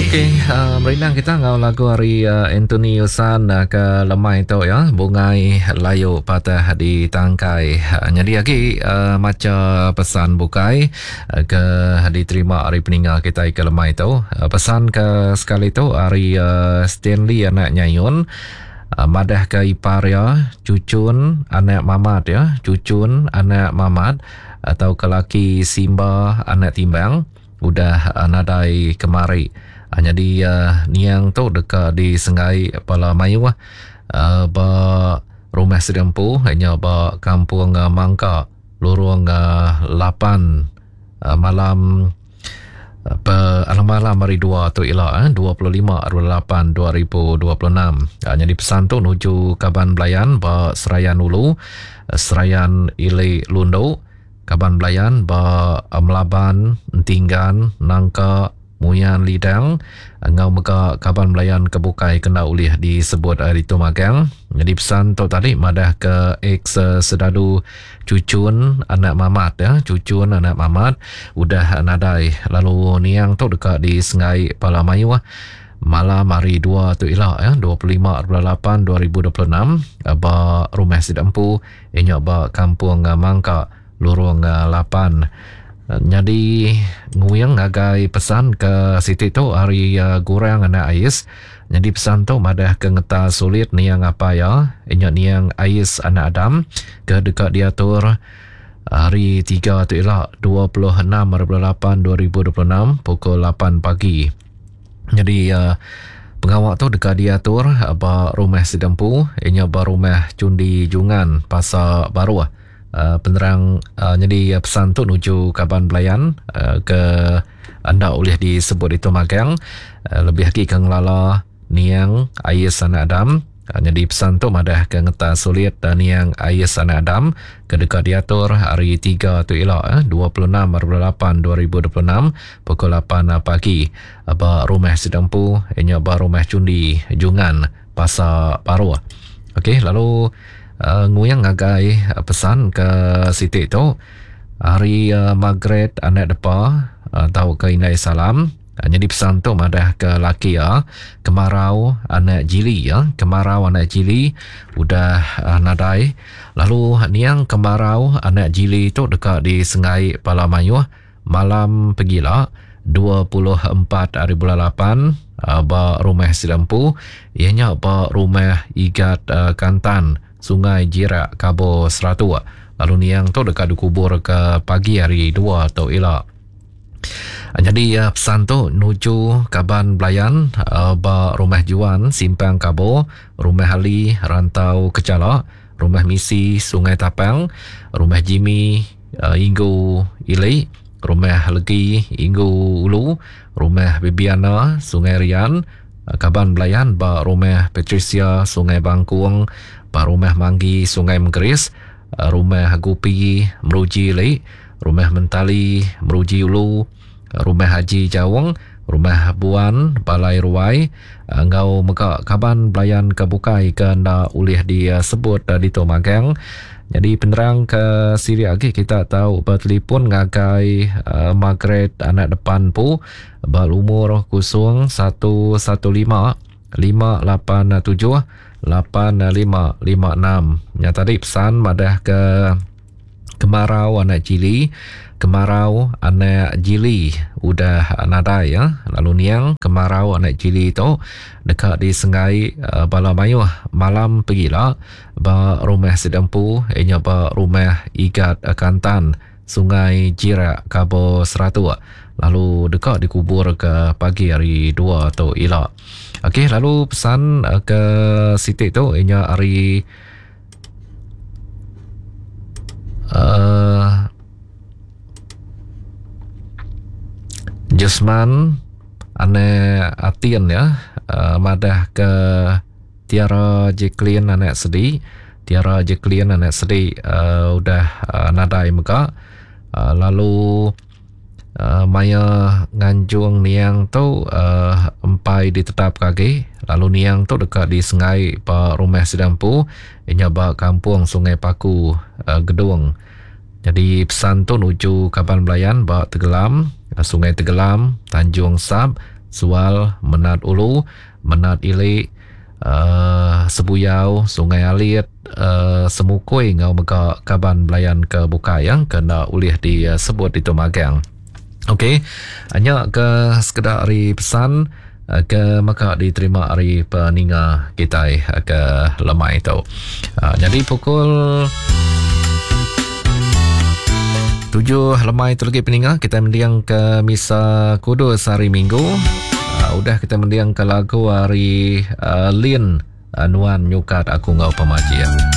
Okey, merindang kita enggau lagu ari Anthony Usan ke lemai tu ya, Bungai Layu Patah di Tangkai. Nyadi agi macha pesan bukai ke diterima ari peninga kitai ke lemai tu. Pesan ke sekali tu ari Stanley anak Nyayun madah ke ipar iya Chuchun anak Mamat ya, Chuchun anak Mamat tauka laki Simba anak Timbang udah nadai kemari. Nyadi niang tu deka disenggai bala mayuh ba rumah sida empu nya ba Kampung Mangka Lorong 8 malam pe malam hari dua tu ila 25 8 2026. Nyadi pesan tu nuju kaban belayan ba Serayan Ulu, Serayan Ili Lundu, kaban belayan ba Melaban, Entinggan, Nangka, Muyan Lidang enggau mega kaban belayan ke bukai ke enda ulih disebut ditu magang. Nyadi pesan tu tadi madah ke ex sedadu Chuchun anak Mamat ya, Chuchun anak Mamat udah nadai lalu niang tu deka disenggai pala mayuh malam hari dua tu ila ya 25 8 2026 ba rumah sida empu inya ba Kampung Mangka Lurung 8. Nyadi nguing ngagai pesan ke siti tu ari Gurang anak Ais. Nyadi pesan tu madah ke ngeta sulit niang apai iya inya niang Ais anak Adam ke deka diatur hari tiga tu ila 26 hari 8 2026 pukul 8 pagi. Nyadi pengawa tu deka diatur ba rumah sida empu inya ba rumah Chundi Jungan Pasar Baruh. Penerang nyadi pesan tu nuju kaban belayan ke enda ulih disebut ditu magang lebih agi ke ngelala niang Ais Anak Adam. Nyadi pesan tu madah ke ngeta sulit niang Ais Anak Adam ke deka diatur hari tiga tu ila 26 hari 8 2026 pukul 8 pagi ba rumah sida empu inya ba rumah Chundi Jungan Pasar Baruh. Okey lalu Nguing ngagai pesan ke siti tu ari Margaret anak depa tauka indai salam nyadi pesan tu madah ke laki iya kemarau anak Jili ya kemarau anak Jili udah nadai lalu niang kemarau anak Jili tu deka disenggai bala mayuh Malam pegila, 24 hari bulan 8, ba rumah sida empu, iya nya ba Rumah Igat Kantan, Sungai Jirak, Kabo, Seratuk. Lalu niang tu deka dikubur ke pagi hari dua tu ila. Nyadi pesan tu nuju kaban belayan ba Rumah Juan, Simpang Kabo, Rumah Ali, Rantau Kechala, Rumah Misi, Sungai Tapang, Rumah Jimmy, Inggu Ili, Rumah Legi, Inggu Ulu, Rumah Bibiana, Sungai Rian, kaban belayan ba Rumah Patricia, Sungai Bangkung, ba Rumah Manggi, Sungai Menggeris, Rumah Gupi, Meruji Ili, Rumah Mentali, Meruji Ulu, Rumah Haji Jaung, Rumah Buan, Balai Ruai enggau mega kaban belayan ke bukai ke enda ulih disebut ditu magang. Nyadi penerang ke silik agi kita tau betelefon ngagai Margaret anak depan empu ba lumur 011 587 8556. Nya tadi pesan madah ke Kemarau anak Jili, Kemarau anak Jili udah nadai ya. Lalu niang Kemarau anak Jili tu deka disenggai bala mayuh malam pegila ba rumah sida empu iya nya ba rumah Igat Kantan, Sungai Jirak, Kabo Seratuk lalu deka dikubur ke pagi hari dua tu ila. Okey lalu pesan ke siti tu iya nya ari Uh, Jusman anak Atin ya uh, madah ke Tiara Jacqueline anak sedi Tiara Jacqueline anak sedi uh, udah uh, nadai mega uh, lalu Maya nganjung niang tu empai ditetapka agi lalu niang tu deka disengai ba rumah sida empu iya nya ba Kampung Sungai Paku, Gedong. Nyadi pesan tu nuju kaban belayan ba Tegelam, Sungai Tegelam, Tanjung Sap, Sual, Menat Ulu, Menat Ili, uhh Sebuyau, Sungai Alit, uhh Semukui enggau mega kaban belayan ke bukai ya ke enda ulih disebut ditu magang. Okey, nya ke sekeda ari pesan ke mega diterima ari peninga kitai ke lemai tu. Nyadi pukul tujuh lemai tu lagi peninga kita mending ke misa kudus hari minggu. Udah kita mending ke lagu hari Lin Nuan Nyukat Aku Enggau Pemajik.